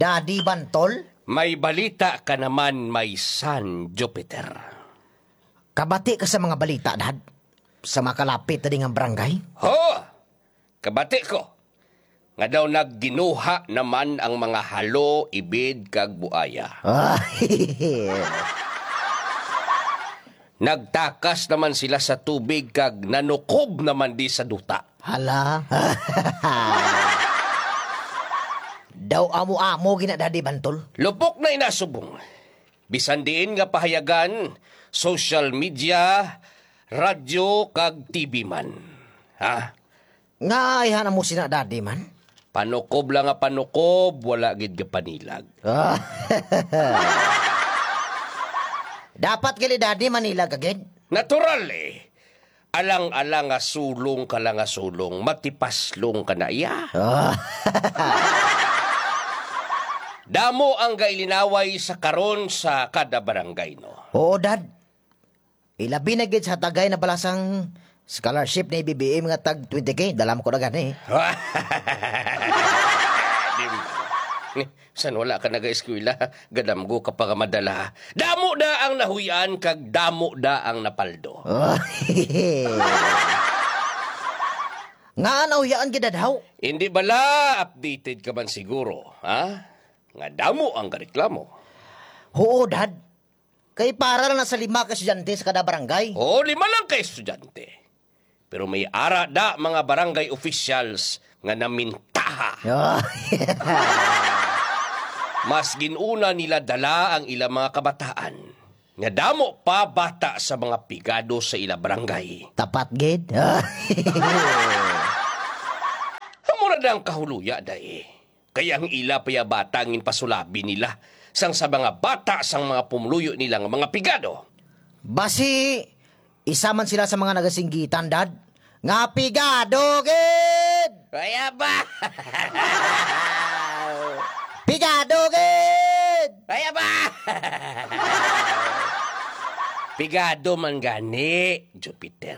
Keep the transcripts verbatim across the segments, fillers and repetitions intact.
Daddy Bantol? May balita ka naman, my son Jupiter. Kabati ka sa mga balita, Dad? Sa mga kalapit na ding ang barangay? Ho! Kabati ko nga daw nagginuha naman ang mga halo, ibid, kag buaya. Ah, nagtakas naman sila sa tubig kag nanukob naman di sa duta. Hala. Daw amo-amo gina, Daddy Bantol. Lupok na ina, subong. Bisan diin nga pahayagan, social media, radyo, kag T V man. Ha? Nga ayhan mo sina, Daddy man? Panukob lang nga panukob, wala gid ka panilag. Ah. Dapat gali, Daddy, manilag ka gid. Natural, eh. Alang-alang nga sulong ka lang nga sulong, matipaslong ka na iya. Ah. Damo ang gailinaway sa karon sa kada barangay, no? Oo, Dad. Ilabi na gid sa tagay na balasang scholarship ni B B M nga tag twenty K. Dala mo ko na gani. Di man. San wala ka nag-eskwela, gadamgo ka pa nga madala. Damo na ang nahuy-an kag damo na ang napaldo. Nga nahuy-an gid, Dad, haw? Hindi bala, updated ka man siguro, ha? Nga damo ang gareklamo. Oo, Dad. Kay para lang na sa lima ka estudyante sa kada barangay. Oo, lima lang ka estudyante. Pero may ara da mga barangay officials nga namintaha. Ah. Mas ginuna nila dala ang ilang mga kabataan nga damo pa bata sa mga pigado sa ila barangay. Tapat gid. Amo na ang kahuluya, day. Kay ang ila pa ya bata ang ginpasulabi nila sang sa mga bata sang mga pumuluyo nila nga mga pigado. Basi, isa man sila sa mga nagasinggitan, Dad, nga pigado gid! Kaya ba? Pigado gid! Kaya ba? Pigado man gani, Jupiter.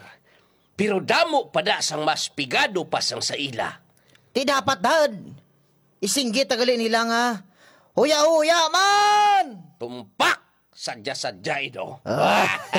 Pero damo pa da sang mas pigado pa sang sa ila. Ti dapat, Dad. Isinggit ta gali nila nga, huya-huya man! Tumpak! Sadya-sadya, ino? Ah.